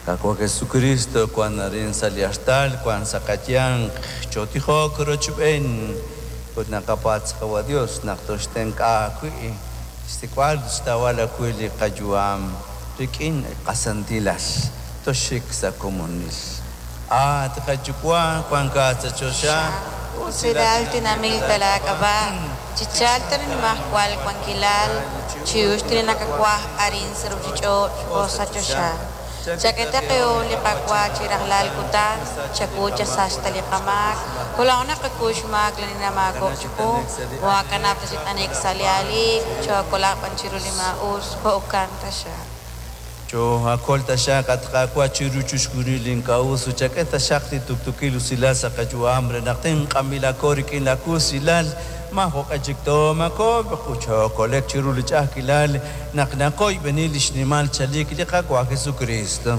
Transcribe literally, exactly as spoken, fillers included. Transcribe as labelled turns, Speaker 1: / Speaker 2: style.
Speaker 1: Qaawa' Jesucristo wan arin sa' li artal, wan sa' qayanq, chootijok rochb'een ut naqapatz' Qawa' Dios naq toxtenq'a wi' xsik'b'al xtawb'al ajwi' li qayu'am rik'in qasantilal toxik sa' komonil. At qaYuwa' wankat sa' choxa,
Speaker 2: Usilal tinamil talak'ab'a, chichalta nimajwal wankilal, chiux tinakakwaj arin sa' ruchich'och' o sa' choxa. Chak'e qe li qakwa chi rajlal kutan, chakucha saxta li qamaak, kolaw naqakuxmaak la ninamaakok chiqu, moakanap ta chit'anik sa' li alik, chokolab'an chiru li ma'us, jo'kan taxa.
Speaker 1: Cho akol taxaq at Qaawa' chiru chixjunil ink'a'us ut chak'e taxaq li tuktukil usilal sa' qayu'am re naq tinq'amilako rik'in la kusilal maajoq'e chik toomakob' chokolek chiru li ch'a'ajkilal naq naqoyb'eni li xnimal chalik li Qaawa' Jesucristo.